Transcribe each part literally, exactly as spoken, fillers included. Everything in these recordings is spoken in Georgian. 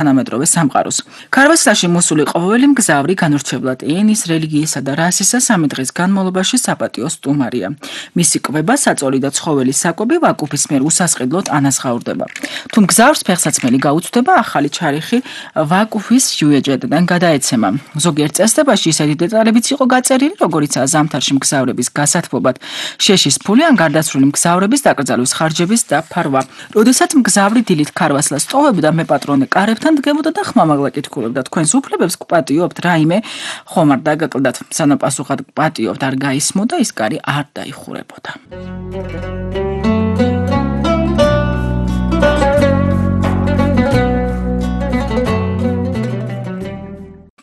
თანამედროვე სამყაროს. ქარვასლაში მოსული ყოველი მგზავრი განურჩევლად ენის, რელიგიისა და რასისა სამი დღის განმავლობაში საპატიო სტუმარია. მისი კვება, საწოლი და ცხოველის საკვები ვაკუფის მიერ უსასყიდლოდ ანაზღაურდება. თუ მგზავრს ფეხსაცმელი გაუწვდება, ახალი ჩარიხი ვაკუფის იუეჯეტიდან გადაეცემა. ზოგიერთ წესდებაში ისეთი დეტალებიც იყო გაწერილი, როგორიცაა ზამთარში მგზავრების გასათბობად შეშის ფული ან გარდაცვლილი მგზავრების დაკრძალვის ხარჯების დაფარვა. როდესაც მგზავრი დილით ქარვასლას ტოვებდა, მე პატრონე კარებთან დგებოდა და ხმამაღლა კითხულობდა, თქვენს უფლებებს გპატიობთ, რაიმე ხომ არ დაგაკლდათ. სანამ პასუხად გპატიობთ არ გაისმოდა, ის კარი არ დაიხურებოდა.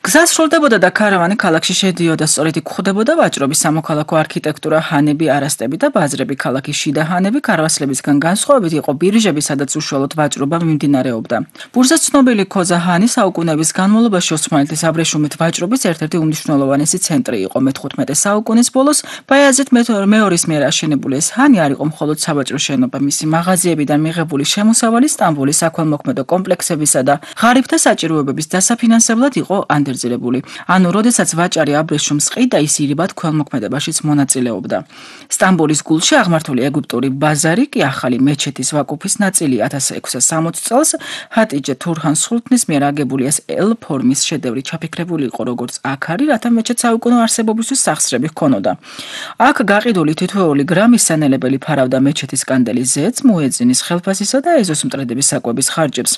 გზა სრულდებოდა და ქარავანი ქალაქში შედიოდა, სწორედ იქ გვხვდებოდა ვაჭრობის სამოქალაქო არქიტექტურა, ჰანები, არასტები და ბაზრები. ქალაქის შიდა ჰანები ქარვასლებისგან განსხვავებით იყო ბირჟები, სადაც უშუალოდ ვაჭრობა მიმდინარეობდა. ბურზას ცნობილი ქოზა ჰანი საუკუნეების განმავლობაში ოსმალეთის აბრეშუმით ვაჭრობის ერთ-ერთი უმნიშვნელოვანესი ცენტრი იყო. მეთხუთმეტე საუკუნის ბოლოს ბაიაზიდ მეორის მიერ აშენებული ეს ჰანი არ იყო მხოლოდ სავაჭრო შენობა, მისი მაღაზიებიდან მიღებული შემოსავალი სტამბოლის საქველმოქმედო კომპლექსებისა და ღარიბთა საჭიროებების დასაფინანსებლად იყო ანდერძ ანუ, როდესაც ვაჭარი აბრეშუმს ყიდა, ის ირიბად ქველმოქმედებაშიც მონაწილეობდა. სტამბოლის გულში აღმართული ეგვიპტური ბაზარი კი ახალი მეჩეთის ვაკუფის ნაწილი. ათას ექვსას სამოცი წელს ჰატიჯე თურჰან სულთნის მიერ აგებული ეს ელ ფორმის შედევრი ჩაფიქრებული იყო როგორც აქარი, რათა მეჩეთს საუკუნო არსებობისთვის სახსრები ჰქონოდა. აქ გაყიდული თითოეული გრამის სანელებელი ფარავდა მეჩეთის კანდელის ზეთს, მუეძინის ხელფასისა და ეზოს მტრედების საკვების ხარჯებს.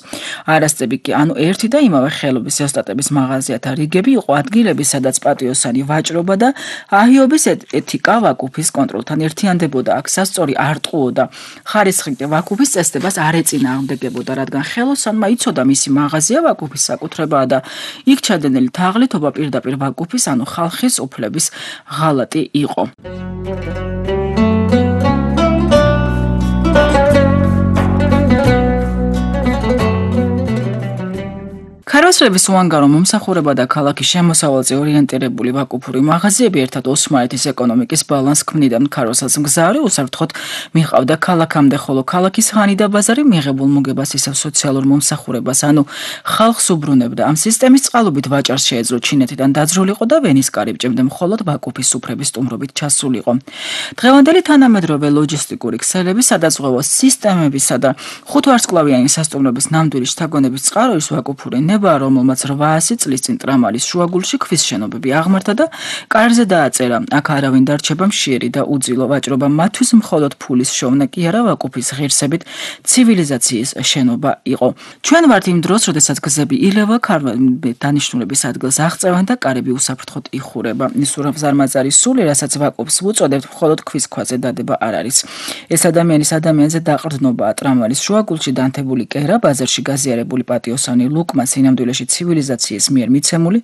არასტები კი ანუ ერთი და იმავე ხელობის ოსტატების მაღაზიათა რიგები იყო ადგილები, სადაც პატიოსანი ვაჭრობა და აჰიობის ეთიკა ვაკუფის კონტროლთან ერთიანდებოდა. აქ სასწორი არ ტყუოდა. ხარისხი კი ვაკუფის წესდებას არ ეწინააღმდეგებოდა, რადგან ხელოსანმა იცოდა მისი მაღაზია ვაკუფის საკუთრებაა და იქ ჩადენილი თაღლითობა პირდაპირ ვაკუფის, ანუ ხალხის უფლების ღალატი იყო. ქარვასლების უანგარო მომსახურება და ქალაქის შემოსავალზე ორიენტირებული ვაკუფური მაღაზიები ერთად ოსმალეთის ეკონომიკის ბალანსს ქმნიდნენ. ქარვასლს მგზავრი უსაფრთხოდ მიყავდა ქალაქამდე, ხოლო ქალაქის ხანი და ბაზარი მიღებულ მოგებას ისევ სოციალურ მომსახურებას, ანუ ხალხს უბრუნებდა. ამ სისტემის წყალობით ვაჭარს შეეძლო ჩინეთიდან დაძრულიყო და ვენის კარიბჭემდე მხოლოდ ვაკუფის სუფრების სტუმრობით ჩასულიყო. დღევანდელი თანამედროვე ლოჯისტიკური ქსელების, სადაზღვევო სისტემებისა და ხუთვარსკვლავიანი სასტუმრობის ნამდვილი შთაგონების წყარო ის ვაკუფური რომელმაც რვაასი წლის წინ ტრამალის შუაგულში ქვის შენობები აღმართა და კარზე დააწერა. აქ არავინ დარჩება მშიერი და უძილო ვაჭრობა მათთვის მხოლოდ ფულის შოვნა კი არა, ვაკუფის ღირსებით ცივილიზაციის შენობა იყო. ჩვენ ვართ იმ დროს, როდესაც გზები ილევა, ქარვანები დანიშნულების ადგილს აღწევენ და კარები უსაფრთხოდ იხურება. სურავზარმაზარი სული, რასაც ვაკუფს ვუწოდებთ, მხოლოდ ქვის ქვაზე დადება არ არის. ეს ადამიანის ადამიანზე დაყრდნობაა. ტრამალის შუაგულში დანთებული კერა, ბაზარში გაზიარებული პატიოსანი ლუკმა სინამდვილეში ცივილიზაციის მიერ მიცემული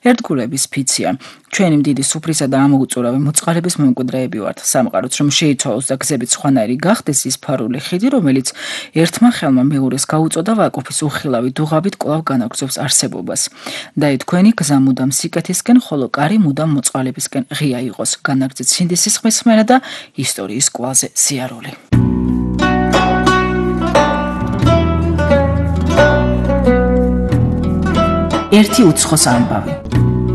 ერთგულების ფიცია. ჩვენი მდიდი სუფრისა და ამოუწურავი მოწყალების მემკვიდრეები ვართ. სამყაროც რომ შეიცვალოს და გზებიც ხვანაირი გახდეს, ის ფარული ხიდი, რომელიც ერთმა ხელმა მეორეს გაუწოდა ვაკუფის უხილავი დუღაბით კვლავ განაგრძობს არსებობას. დაი თქვენი გზა მუდამ სიკეთისკენ, ხოლო კარი მუდამ მოწყალებისკენ ღია იყოს. განაგრძეთ სინდისის ხმისმენა და ისტორიის კვალზე სიარული. ერთი უცხოს ამბავი.